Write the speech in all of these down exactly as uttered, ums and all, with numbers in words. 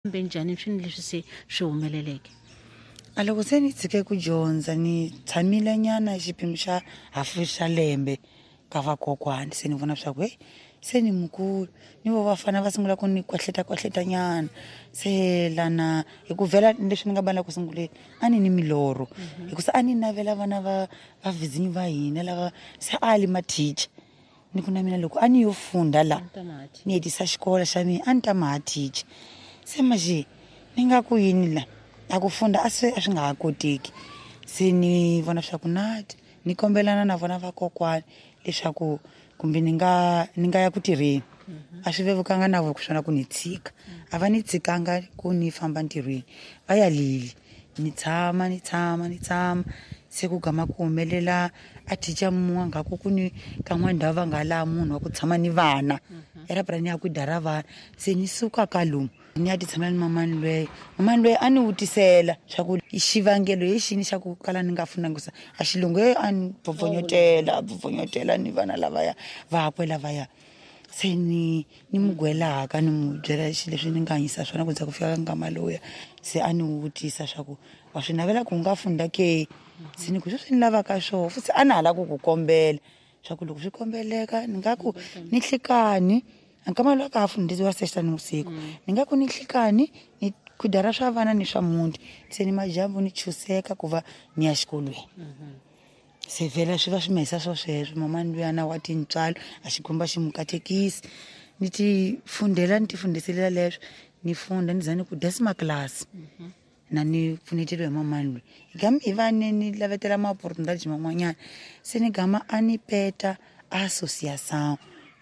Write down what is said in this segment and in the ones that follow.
Fambe njhani swini leswi se swi humeleleke? A loko se ni tshike ku dyondza ni tshamile nyana xiphemu xa hafu xa lembe ka vakokwani, se ni vona swa ku hey, se ni mukulu, ni vo vafana va sungula ku ni kwahleta kwahleta nyana. Se lana hi ku vhela leswi ni nga bala ku sunguleni a ni ni milorho, hikusa a ni navela vana va va vizinyo va hina lava se a li mathicha. Ni ku na mina loko a ni yo funda la ni hetisa xikolo xa mina a ni ta maha teacher. Se manje ni nga ku yini la a ku funda a se a swi nga ha koteki. Se ni vona swa ku nati ni kombelana na vona vakokwani leswaku kumbe ni nga ni nga ya ku tirheni. A swi vevukanga na vo swona ku ni tshika, a va ni tshikanga ku ni famba ntirhweni, va ya lili ni tshama ni tshama ni tshama. Se ku gama ku humelela a teacher mun'we nga ku ku ni ka n'wana ndhawu va nga laha munhu wa ku tshama ni vana era pra ni ya ku dara vana. Se ni suka ka lomu ni ya ti tshamela ni mamani lweyo. Mamani lweyo a ni vutisela swa ku xivangelo hi xini xa ku kala ni nga funanga sa a xilungu ye a ni bvobvonyotela, a bvobvonyotela ni vana lavaya vakwe lavaya. Se ni ni mu gwelaka ni mu byela xilo leswi ni nga hanyisa swona ku za ku fika ka nkama lowuya. Se a ni vutisa swa ku wa swi navela ku u nga funda ke? Se ni ku sweswi ni lavaka swoho futhi a na ha lava ku ku kombela swa ku loko swi kombeleka ni nga ku ni nhlikani nkama lowu ka ha fundisiwa sexta ni vusiku, ni nga ku ni nhlikani ni khudara swa vana ni swa muti, se ni madyambu ni chuseka ku va ni ya xikolweni. Se vhela swi va swi mahisa swo sweswo. Mamani luyana wa tintswalo a xikwembu xi mu katekisi, ni ti fundela ni ti fundiselela leswo ni funda ni za ni ku décima classe na ni pfuneteliwe hi mamani loyi. Hi gama hi va ni ni lavetela ma-opportunidades man'wanyana. Se ni gama a ni peta associação,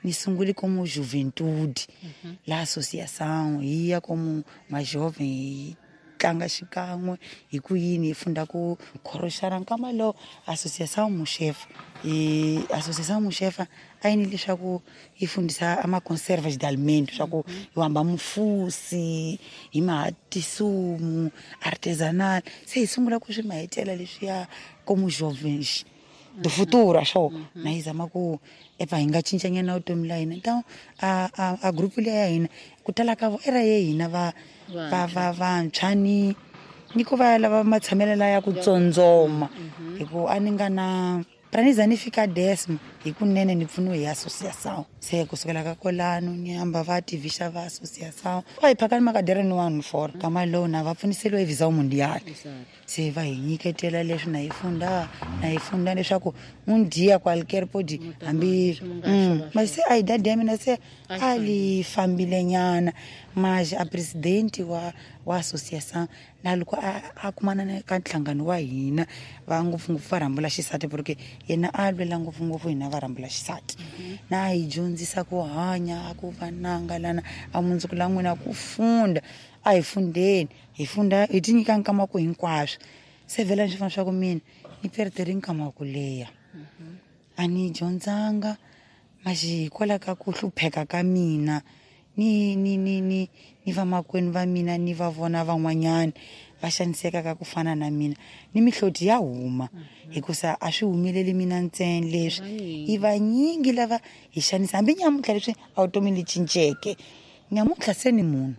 ni sungule como juventude la associação, hi ya como majovem hi tlanga xikan'we hi ku yini hi funda ku khoroxana. Nkama lowu associação Muxefa, hi associação Muxefa a yi ni leswaku yi fundisa a ma-conservas de alimento swa ku hi hamba mufusi hi maha tisumu artisanal. Se hi sungula ku swi mahetela leswiya como jovens do futuro swo na yi zama ku epa hi nga cincanyana vutomi la hina. Então a a a group liya ya hina ku tala ka vo era ye hina va va va vantshwa ni ni ku va lava matshamelo la ya ku tsondzoma, hi ku a ni nga na pra ni za ni fika décimo hi kunene ni pfuniwe hi associação. Se kusukela ka kwalano ni hamba va tivisa va associação va hi phakani makadere ni one four kama lowu na va pfuniseliwe hi Visão Mundial. Se va hi nyiketela leswi na hi funda na hi funda leswaku un dia qualquer pode hambi mas se a idade ya mina se a li fambile nyana. Mas a presidente wa wa associação na loko a a kumana na ka nhlangano wa hina va ngopfungopfu va rhambula xisati, porque yena a lwela ngopfungopfu hina va rhambula xisati. Na hi dyondzisa ku hanya a ku va nanga lana a mundzuku la n'wina ku funda a hi fundeni hi funda hi ti nyika nkama ku hinkwaswo. Se vhela ni swi vona swa ku mina ni perdere nkama wa ku leha a ni dyondzanga, maxi hikwalaho ka ku hlupheka ka mina ni ni ni ni ni vamakwenu va mina ni va vona van'wanyana va xaniseka ka ku fana na mina ni mihloti ya huma, hikusa a swi humeleli mina ntsena leswi i vanyingi lava hi xanisa. Hambi nyamuntlha leswi a vutomi li cinceke nyamuntlha se ni munhu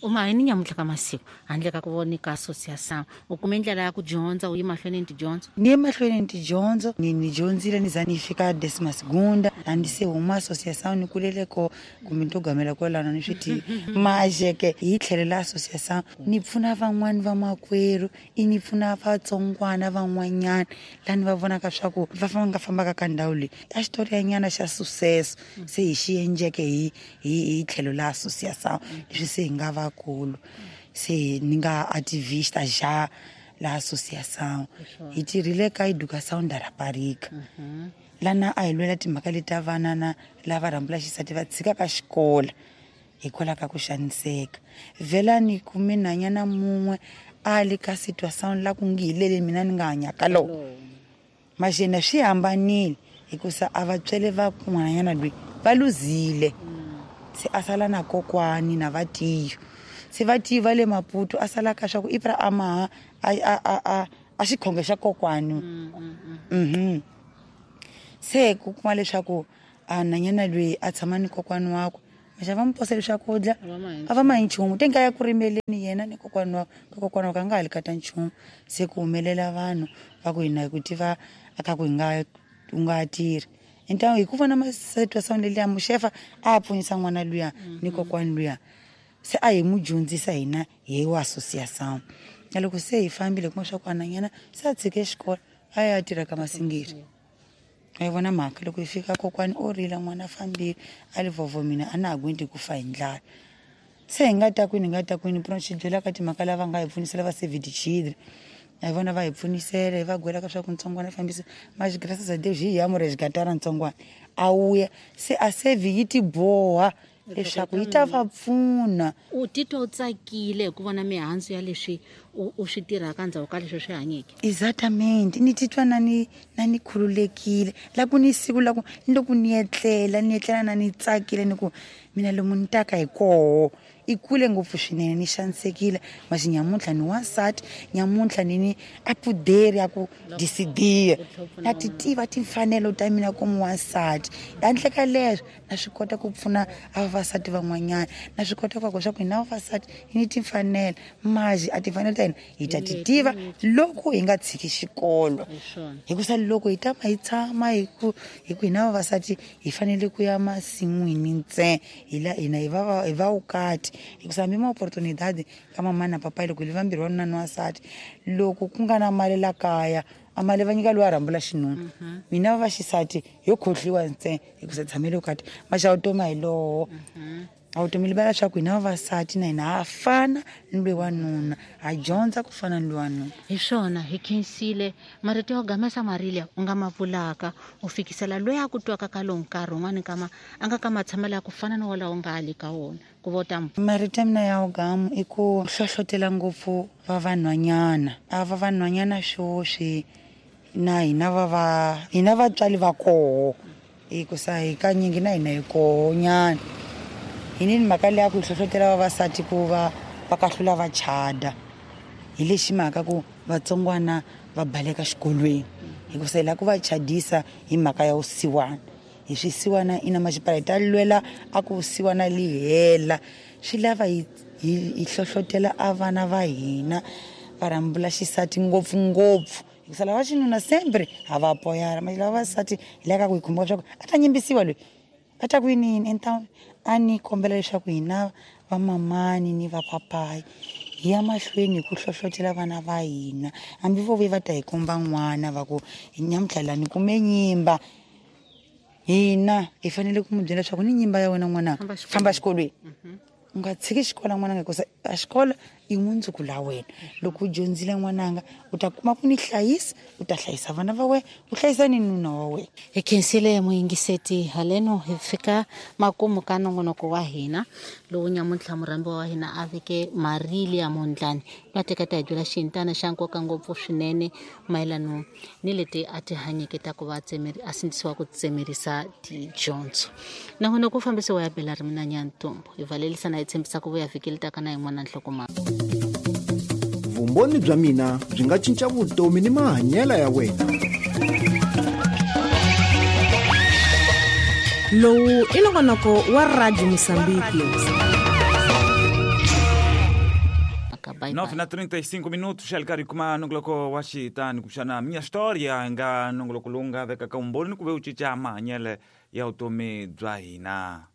U ma hi ni nyamuntlha ka masiku handle ka ku vonika associação u kume ndlela ya ku dyondza u yi mahlweni ni tidyondzo? Ni ye mahlweni ni tidyondzo, ni ni dyondzile ni za ni fika décima segunda a ni se huma associação ni kulele ko kumbe ni to gamela kwalano ni swi tivi. Majeke hi tlhelo la associação ni pfuna van'wani vamakwerhu i ni pfuna vatsongwana van'wanyana laha ni va vonaka swa ku va famba nga fambaka ka ndhawu leyi a xitori nyana xa sucesso se hi xi endleke hi hi hi tlhelo la associação leswi se hi nga vakulu se ni nga ativista já la associação. Hi tirhile ka educação da rapariga lana a hi lwela timhaka leti ta vana na lava rhambula xisati va tshikaka xikolo hikwalaho ka ku xaniseka. Vhela ni kume nhwanyana mun'we a li ka situação la ku ngi hi lele mina ni nga hanya ka lona, maxena swi hambanile hikusa a vatswele va n'wananyana loyi va luzile, se a sala na kokwani na vatiyo. Se vatiyo va le Maputo a sala ka swa ku i pra a maha a a a a a xikhonge xa kokwani. Mhm se ku kuma leswaku a nhwanyana loyi a tshama ni kokwani wakwe maxa va mu posele swakudya a va ma hi nchumu te nka ya ku rimeleni yena ni kokwana wa ka kokwana wa ka nga ha li kata nchumu se ku humelela vanhu va ku hina hi ku tiva a ka ku hi nga u nga tirhi então hi ku vona masituação leliya muxefa a pfunisa n'wana luya ni kokwani luya se a hi mu dyondzisa hina hi wa associação na loko se hi fambile kuma swa ku ananyana se a tshike xikolo a ya tirha ka masingiri a yi vona mhaka loko hi fika kokwani o rila n'wana a fambile a li vhovho mina a na ha gwendi ku fa hi ndlala se hi nga ta kwini hi nga ta kwini pona xi byela ka timhaka lava nga hi pfunisela va save the children a hi vona va hi pfunisela hi va gwela ka swa ku ntsongwana a fambisa mas graças a Deus hi ya mu resgatar ntsongwana a wuya se a save yi ti boha leswaku yi ta va pfuna u titwa u tsakile hi ku vona mihandzu ya leswi u u swi tirhaka endzhaku ka leswi swi hanyeke exatamente ni titwa na ni na ni khululekile la ku ni siku la ku ni loko ni etlela ni etlela na ni tsakile ni ku mina lomu ni taka hi koho i kule ngopfu swinene ni xanisekile masi nyamuntlha ni wansati nyamuntlha ni ni a poder ya ku decidir na ti tiva timfanelo ta mina komu wansati handle ka leswo na swi kota ku pfuna a vavasati van'wanyana na swi kota ku swa ku hina vavasati hi ni timfanelo mazi a timfanelo ta hina hi ta ti tiva loko hi nga tshiki xikolo hikusa loko hi tama hi tshama hi ku hi ku hina vavasati hi fanele ku ya masin'wini ntsena hi la hina hi va hi va vukati hikusa hambi ma-oportunidade ka mamani na papayi loko hi li vambirhi wanuna ni wansati loko ku nga na mali la kaya a mali va nyika loyi a rhambula xinuna mina va vaxisati yo khohliwa ntsena hikusa tshamele vukati maxa vutomi a hi lowo a vutomi li vula leswaku hina vavasati na hina ha fana ni loyi wanuna ha dyondza ku fana ni loyi wanuna hi swona hi khensile marito yo gamesa marilia u nga ma vulaka u fikisela loyi a ku twaka ka lowu nkarhi wun'wani kama a nga ka matshamelo ya ku fana ni wolawo nga ha le ka wona ku vo ta marito ya mina ya wugamu i ku hlohlotela ngopfu va vanhwanyana a va vanhwanyana swoswi na hina va va hina vatswari va koho hikusa hi kanyingi na hina hi koho nyana hi ni mhaka leyi ya ku hi hlohlotela vavasati ku va va kahlula va chada hi lexi mhaka ku vatsongwana va baleka xikolweni hikusa hi lava ku va chadisa hi mhaka ya vusiwana hi swisiwana ina maxipala hi ta lwela a ku vusiwana li hela swi lava hi hi hlohlotela a vana va hina va rhambula xisati ngopfungopfu hikusa lava xinuna sempre ha va apoyara mara lava vavasati hi lava ku hi khumba leswaku a ta nyimbisiwa loyi a ta ku yini então a ni kombela leswaku hina vamamani ni vapapayi hi ya mahlweni hi ku hlohlotela vana va hina hambi vo ve va ta hi komba n'wana va ku nyamuntlha la ni kume nyimba hina hi fanele ku mu byela leswaku ni nyimba ya wena n'wananga famba xikolweni u nga tshiki xikolo n'wananga hikusa a xikolo i mundzuku la wena loko u dyondzile n'wananga u ta kuma ku ni hlayisa u ta hlayisa vana va wena u hlayisa ni nuna wa wena hi khensile muyingiseti haleno hi fika makumu ka nongonoko wa hina lowu nyamuntlha murhambiwa wa hina a veke Marilia Mondlane va teka ta hi byela xintana xa nkoka ngopfu swinene mayelano ni leti a ti hanyeke ta ku va a sindzisiwa ku tsemerisa tidyondzo nongonoko wu fambisiwa ya Bela ri mina Nyantombo hi valelisa na hi tshembisa ku vuya vhiki leri taka na yin'wana nhlokomhaka vumbhoni bya mina byi nga cinca vutomi ni mahanyelo ya wena lowu i nongonoko wa Radio Moçambique nove na trinta e cinco minutos xa li kuma nongoloko wa xitani kumbexana minha história nga nongoloko lowu nga vekaka vumbhoni ni ku ve u cinca mahanyelo ya vutomi bya hina.